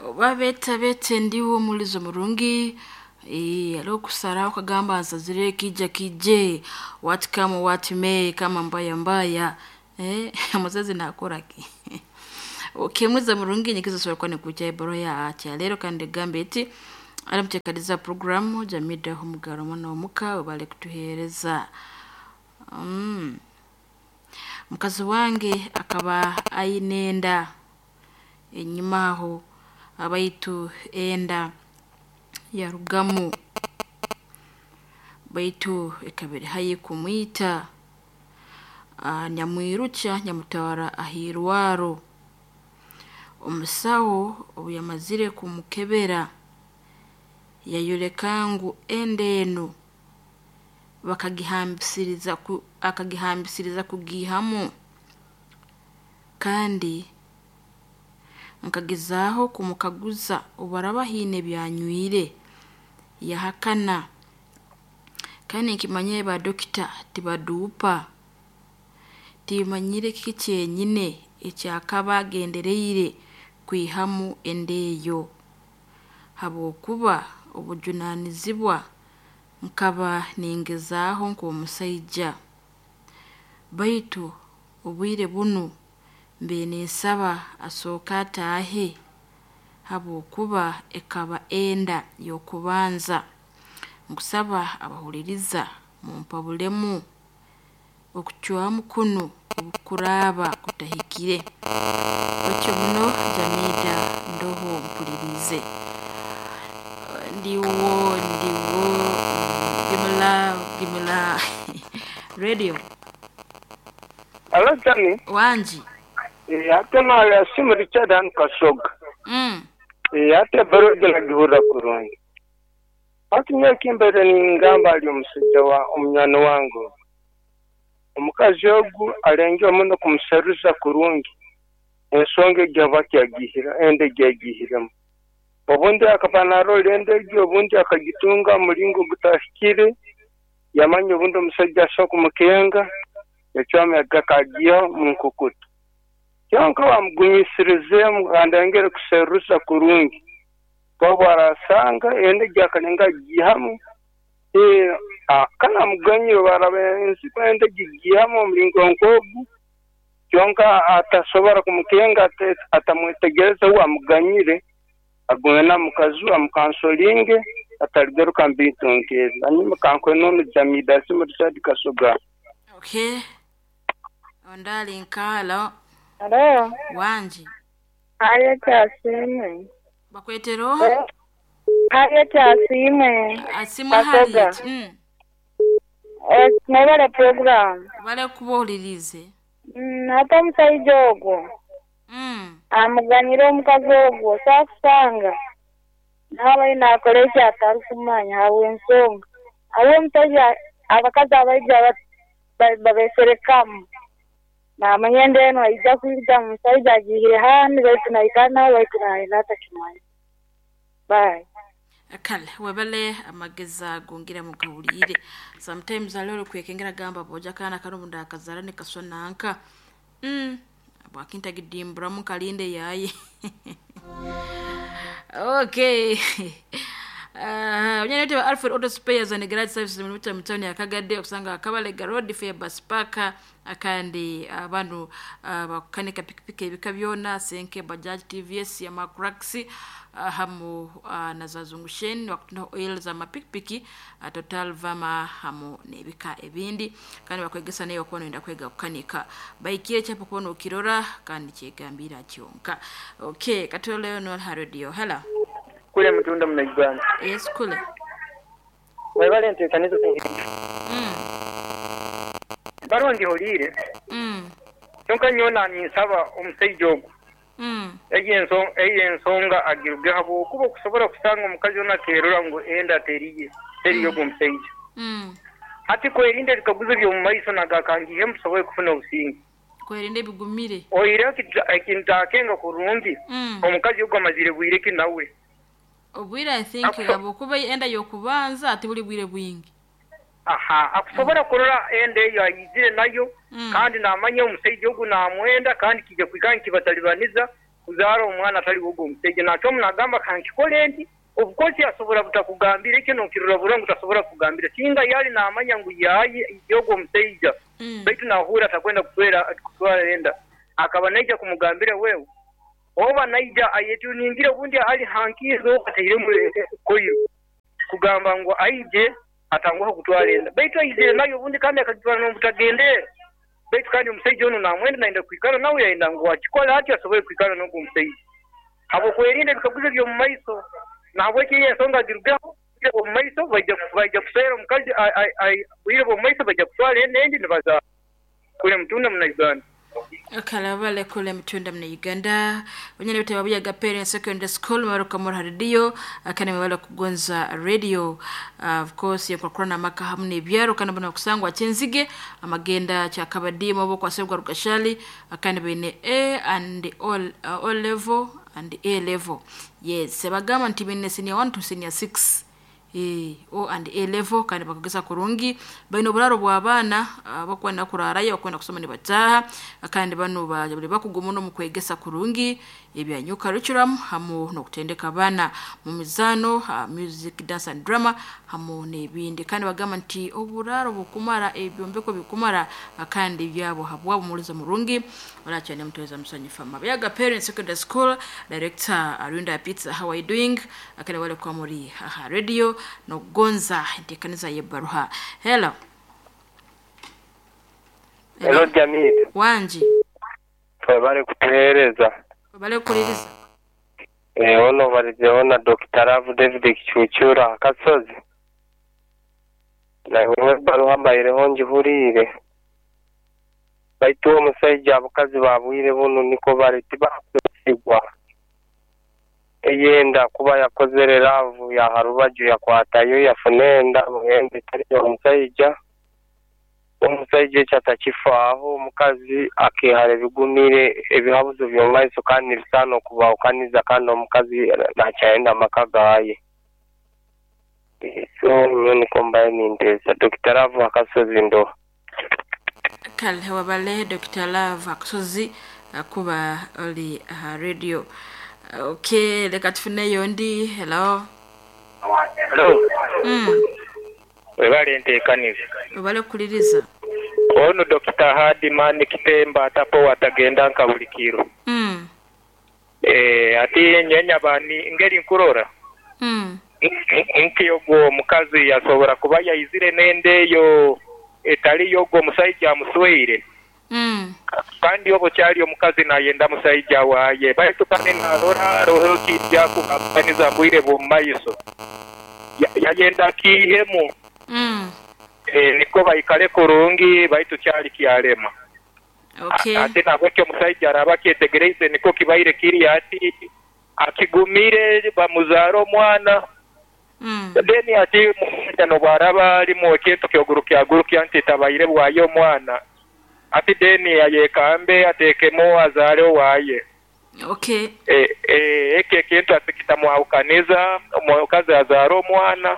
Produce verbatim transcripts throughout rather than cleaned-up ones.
Oba beeta ndiwo omulizo murungi eh, aliho kusaraho kagamba nsazire kija kije what come what may kama mbaya mbaya eh, omuzazi nakora ki okemuza murungi nyikizo sobola kuba nikuja ebaro ya kyaleero kandi egamba eti aramuteekaniza puroguramu jamidaho omugaro omwana omuka webale kutuheereza mm. Mukazi wange akaba aine enda enyuma aho abaitu enda yarugamu baitu ekaba eri haihi kumwita ah, nyamwirukya nyamutwara ah'irwaro. Omusaho obu yamazire kumukebera yayoleka ngu enda enu bakagihambisiriza ku akagihambisiriza kugiihamu, kandi nkagezaaho kumukaguza obu araaba haine ebyanywire, yahakana. Kandi ninkimanya ba dokita tibaduupa, timanyire kiki kyenyine ekyakaba agendereire kwihamu enda eyo, habwokuba obujunaanizibwa nkaba ningezaaho nk'omusaija. Baitu obwire bunu mbiire ninsaba asooke ataahe habwokuba ekaba enda y'okubanza. Nkusaba abahuliriza mumpabulemu okucwamu kunu obu kuraaba kutahikire. Otyo muno Jamidah ndoho mpuliriize. Ndiwo ndiwo give me love, give me love radio. Alo Jami, Wangi. eh, ate naya simu Richard hanu Kasoga. Mm. Eh, ate ebbaruha egi nagihurra kurungi. Hati nyowe ekimbaire ningamba ali omusaija wa omunywani wange ogu. Omukazi ogu alengeho muno kumuseruza kurungi ensonga egi habwaki agihire enda egi agihiremu. Obundi akaba naarora enda egi obundi akagitunga mu mulingo ogutahikire, yamanya obundi omusaija asobora kumukenga, yacwamu akagiihaho mu nkukutu. Kyonka wamugumiisirizeemu kandi ayongere kuseruza kurungi, obu araasanga enda egi akalenga agiihamu, ee kale amuganyire obu araaba enda egi agiihamu omulingo nk'ogu, kyonka atasobora kumukenga atamwetegereza uwe amuganyire, agume na mukazi we amukansolinge ataligaruka mu bintu nk'ebi. Hanyuma kankwenoonu Jamidah Asiimwe Richard Kasoga. Okay. Ondali nkalo. Alo, Wangi. hariyo Kyasiimwe. Bakwetera oha? Hariyo Kyasiimwe. Asimwe Kasoga. Harriet. Mm. Eh, Mwebale program. Bale kuba ohuliriize. Mm, ate omusaija ogwo Mm. amuganyire omukazi ogwo saakusanga naaba naakora eki atarikumanya habw'ensonga hariho omusaija abakazi abaija babeserekamu namanya enda enu aija kwija omusaija agiihire hanu baitu naikara nawe baitu naayenda atakimanya. Bye. Kale webale amagezi ago ngira mugahulire. Sometimes hariho orikwekengera agamba boja akaana kanu obu ndakazaara nikaswa nanka. Mm. Bwakintagidimburamu nkalinde yaaye. Okay. Uh, Onyanete wa Alfred Auto Spares and Garage Services mu mu town ya Kagadde okusanga Kabalega Road Fair Park akandi abantu uh, bakukanika pikipiki ebika byona Senke Bajaj T V S Yamakrax uh, hamu uh, na za zungushen bakutunda oil za mapikipiki uh, Total Vama hamu n'ebika ebindi kandi bakwegesa nayo okuba noyenda kwega kukanika baikire kyapa kubona okirora kandi kyegambira kyonka. Okay, katoleo no ha radio. Hello. Kule mutunda muna Uganda. Yes, kule. Mwebale nteekaniza. Mm. Baruwa ngihulire. Mm. Kyonka nyowe ninsaba omusaija ogu Mm. egi ensonga egi ensonga agiruge habwokuba okusobora kusanga omukazi onu akeerora ngu enda teriye teriyo ogu omusaija. Mm. Hati kwerinda ebikaguzo by'omu maiso nagakangiihemu tusobole kufuna obusinge. Kwerinda ebigumire. Oihireho ekintu akenga kurungi Mm. omukazi ogu amazire bwire ki nawe. Obwire I think Akuso- habwokuba enda y'okubanza ati buli bwire bwingi. Aha, akusobora kurora enda eyo ayizire nayo Mm. kandi namanya omusaija ogu namwenda kandi kijja kwikara nikibatalibaniza. Kuzaara omwana atali wogo omusajja nakyomu nagamba kankikole nti obukosi asobola butakugambira ekyo nokirora burungi tasobola kugambira singa yali namanya ngu yayi yogo omusajja Mm. baitu nahura atakwenda kutwera kutwara enda akaba naija kumugambira wewe oba naija ayetuningire obundi ali hankizo atairemu koyo kugamba ngu aije atanguha kutwara enda baitu aizire nayo obundi kandi akagitwara n'obutagendera baitu kandi omusajja ono namwenda naenda kwikara nawe yaenda ngu akikole atyo asobole kwikara n'ogwo omusajja habwokwerinda ebikaguzo by'omu maiso nahabweki eyo ensonga zirugeho omu maiso baija baija kuswera omukazi ai- ai- ai- bwire bw'omu maiso baija kutwara enda endi nibazaara kule mutunda muna Uganda. Kalabale kule mtunda mna Uganda wenyene bite babuyaga parents secondary school maruka muri radio akane mabala kugonza radio. uh, of course yakwakura maka hamwe n'ebyaro kandi bona kusangwa kyenzige amagenda kyakabadimu bo kwasebwa rugashali akane bene A and all, uh, all level and A level. Yes, bagamba nti bene senior one to senior six. Eh, O and A level kandi bakagesa kurungi baino buraro bw'abaana bakwenda kurarayo bakwenda kusoma nibataha kandi bano bali bakuguma no mu kwegesa kurungi ebya new curriculum hamu n'okutendeka abaana mu mizano, uh, music, dance and drama hamu n'ebindi kandi bagamba nti oburaro bukumara ebyombeko bikumara kandi byabo habwabo mulizo murungi olakyane mutweza musanyufa Mabiaga Parents Secondary School Director Arunda Pizza, how are you doing? Akane wale kwa muri aha radio nogonza ntekanisa yebaruha. Hello. Hello Jamil, wanji twebale kutuheereza. bale kuliriza. Eh, ono balizeho na Doctor Love David Kichuchura Akasozi. Nawe baruha mbaireho njihuriire. Baitu omusajja abakazi babwire buno niko bali tibakwesigwa. Eyenda kuba yakozere love ya harubaju yakwatayo yafuna enda buhembe etali omusajja. Omusajja ekyo atakifaaho omukazi akehara ebigumire ebihabuzo by'omu maiso kandi nibisaana okubahukaniza kandi omukazi nakyayenda amaka gaaye. So nyowe niko mbaye ninteesa. Doctor Love Akasozi ndo. Kale wabale Doctor Love Akasozi kuba oli aha radio. Okay, leka tufuneyo ndi. Hello. Hello. Mm. Webale nteekaniza. Webale kuliriza. Ono Doctor Hadiman Kitemba atapo watagenda nka buli kiro. Mm. Eh, ati nyenya bani ngeri nkurora. Mm. Nki ogwo omukazi yasobora kuba yaizire n'endeeyo etali yogwo omusajja amusweire. Mm. Kandi obo kyali omukazi nayenda musajja waye baitu kandi narora roho kijja kukapaniza mbwire bw'omu maiso yayenda kiihemu. Mm. E, niko baikale kurungi baitu kyali kyalema. Okay. Ate nabwekyo omusajja araba kyetegereize niko kibaire kiri ati akigumire bamuzaara omwana. Mm. Then ati omusajja nobwaraba alimu ekintu kyogurukya nti tabaire bwaye omwana ati deni ayekambe atekemo azaale owaye. Okay. E, e, eke ekintu atikitamwahukaniza omukazi azaara omwana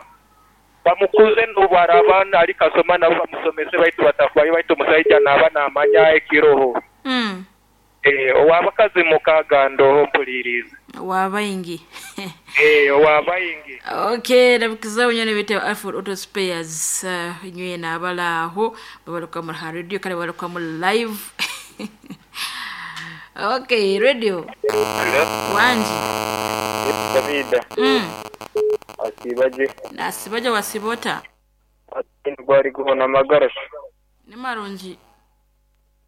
bamukuze nobwaraba ali kasoma nabo bamusomese baitu batafayo baitu omusajja naaba namanya ekiroho. Mm. E, owabakazi mukaaga ndoho mpuliriza wabaingi. Eh, owabaingi. Okay, nabukiza unyone bite Alfred Auto Spares uh, nywe nabalaho babaluka mu radio kale babaluka mu live. Okay, radio. Hello. Wanji. Davida. Mm. Asibaje. Nasibaje wasibota. Ati guhona amagarasho. Ni marungi.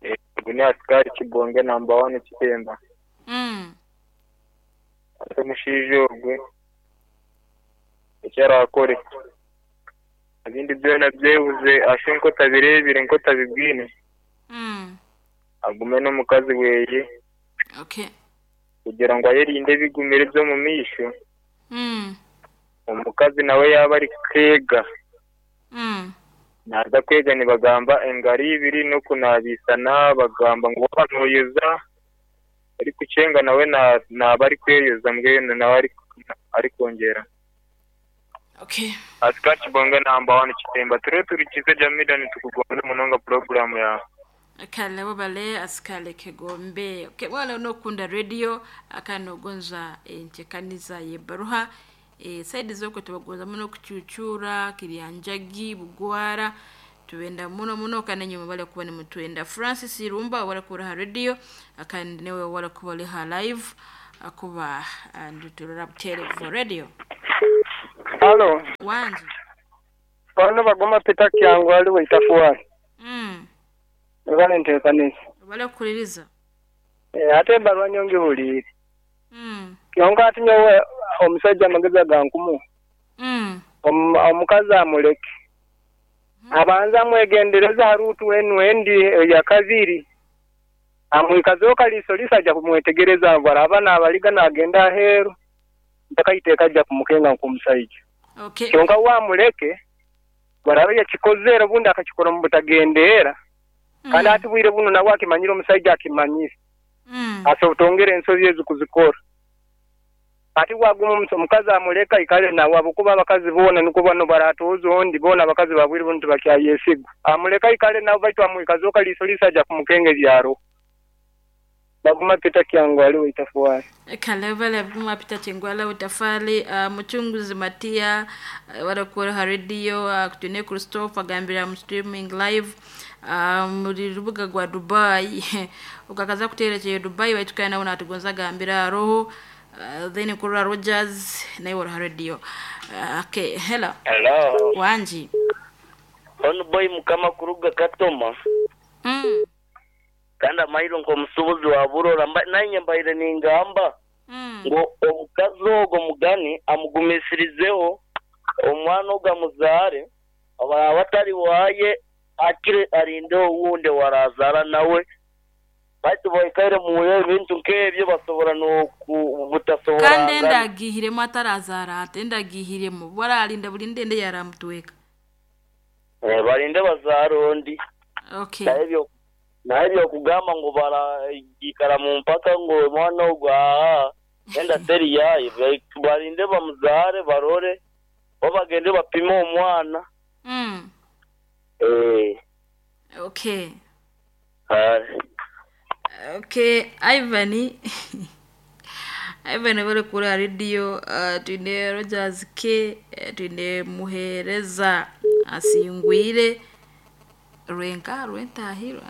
Eh, gune asikari Kibonge number one Kitemba. Mm. Ate mushijo gwe. Ekyarakore. Ebindi byona byebuze ashe nko tabirebire nko tabibwine. Mm. Agume n'omukazi weye. Okay. Kugira ngo ayerinde bigumire byo mu misho. Mm. Omukazi nawe yaba ari kwega. Mm. Naza kwega nibagamba engari ibiri no kunabisana bagamba ngo banoyeza ari kucenga nawe na naba ari kweyoza mbwene nawe ari ari kongera. Okay. Asikari Kibonge number one Kitemba ture turikize Jamida nitukugonde munonga program ya. Kale wabale asikale kegombe. Okay, wala unokunda radio akanogonza entekaniza yebaruha e, saidi zoko tubagonza muno kuchuchura kiryanjagi bugwara tuwenda muno muno kana nyuma wale kuba ni mutwenda Francis Irumba wala kura radio akandi newe wala kuba liha live akuba nduturura butere for radio. Halo. Wanji. Bano bagoma Peter Kyangu ali waitafuwali. Mm. Wale ntekanisa. Wale kuliriza. Eh, ate barwa nyongi huliri. Mm. Kyonka ati nyowe omusajja amagezi agankumu. Mm. Om, omukazi amuleke. Mm. Abanza amwegendereza harutu enu endi ya kabiri. Amwikazeho kaliso lisajja kumwetegereza baraba n'abaliga n'agenda aheeru. Mpaka iteeka ajja kumukenga nk'omusajja. Okay. Kyonka wamuleke baraba yakikozere obundi akakikora mu butagendeera. Mm. Kandi ati bwire buno nawe akimanyire omusajja akimanyire. Mm. Asobotongera ensobi ezo kuzikora. Ati waguma omukazi amuleka ikale nawe abukuba abakazi boona niko bano baratoza ondi boona abakazi babwire buno tibakyayesigwa. Amuleka ikale nawe baitu amwikazeho kaliso lisajja kumukenga ebyaro. Baguma Peter Kyangu ali waitafuwali. Kalevele baguma Peter Kyangu utafali uh, muchunguzi Matia uh, wala kuwa radio uh, kutune Christopher gambira mu streaming live uh, muri rubuga gwa Dubai ukakaza kuterekeye Dubai baitukana nawe natugonza gambira roho uh, then kura Rogers naye wala radio. Uh, okay, hello. Hello. Wanji. Ono boy mukama kuruga Katoma. Mm. Kanda mailo nko musubuzi wa burora nanye mbaire ningamba mm. ngo omukazi ogo mugani amugumisirizeho omwana ogamuzare abatari waye akire arinde owunde warazara nawe baitu boikaire muyo ebintu nk'ebyo basobora n'okubutasobora. Kandi endagihiremu atarazara ate endagihiremu baralinda buli ndende yaramutweka eh, barinde bazara ondi. Okay. Naebyo naebyo kugamba ngo baragikara mu mpaka ngo mwana ogwa enda teri yaye barinde bamuzare barore babagende bapime omwana. Mm. Eh. Okay. Ah. Okay, Ivan. Ivan bari kuri radio uh, twine Rogers K twine muhereza asingwire Rwenka rwentahirwa.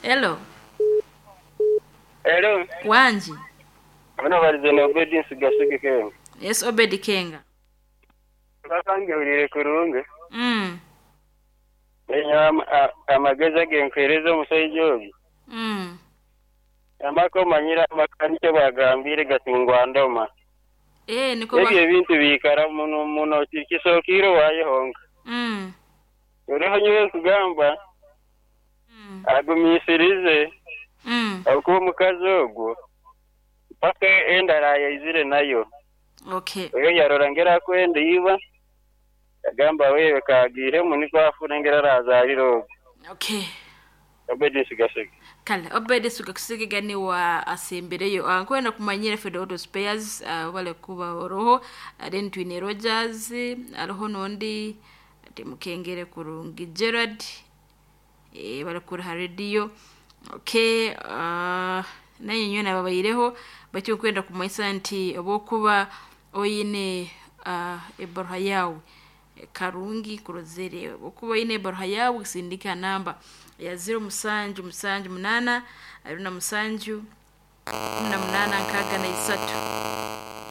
Hello. Hello. Wanji. Bano barize na Obedi Nsigasige Kenga. Yes, Obedi Kenga. Bakange ulire kurunge. Mm. Enya amagezi agenkwereza omusajja ogu. Mm. Amako manyira amakanike bagambire gatingwa ndoma. Eh, niko ebyo ebintu bikara muno muno kisookire wayehonga. Mm. Oriho nyowe kugamba mm. agumisirize mm. akuba omukazi ogwo mpaka endara yaizire nayo. Okay. Oyo yarora ngera akwenda iba agamba wewe kagiremu niko afuna ngera arazarira ogwo. Okay. Obedi Nsigasige. Kale Obedi Nsigasige gani wa asembereyo ankwenda kumanyira Fedo Auto Spares uh, wale kuba oroho then twine Rogers aroho nondi mukengere kurungi Gerard eh bari kuri radio. Okay, uh, naye nyona babayireho bacyo kwenda kumaisa nti obokuba oyine uh, ebarha yawe karungi kurozere okuba oyine ebarha yawe sindika namba ya zero musanju musanju munana aruna musanju na munana nkaga na isatu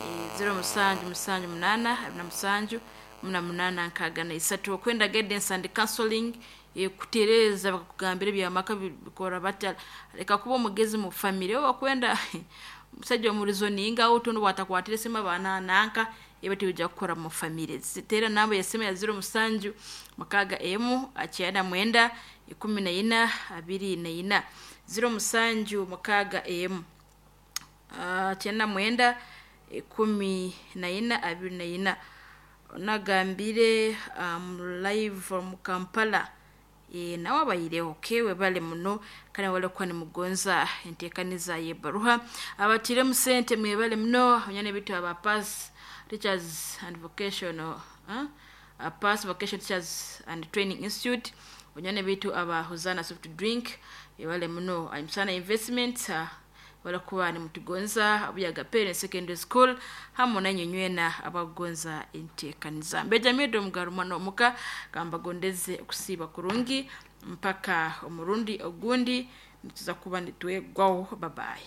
e, zero musanju musanju munana aruna musanju muna munana nkaga na isatu okwenda guidance and counseling e, kutereza bakugambira byamaka bikora batya reka kuba omugezi mu family okwenda musajja omurizoninga utundu watakwatire sema bana nanka ebati uja kukora mu family zitera namba ya sema ya zero musanju makaga emu achiana mwenda ikumi na ina abiri na ina zero musanju makaga emu achiana mwenda ikumi na ina abiri na ina nagambire um, live from Kampala e, nawe abayireho kewe bale muno kandi wale kwa nimugonza entekaniza yebaruha abatire musente mwebale muno nyane bitu aba pass teachers and vocational huh? uh, pass vocation teachers and training institute Banywani baitu aba Hosana soft drink, ebale muno. Amusana Investment, ah, barakuba nimutugonza Abuyaga Parents Secondary School, hamu nanye nywena abagonza enteekaniza. Mbejamido mugarumano omuka kambagondeze okusiiba kurungi mpaka omurundi ogundi nituza kuba nitwegwaho. Babaye.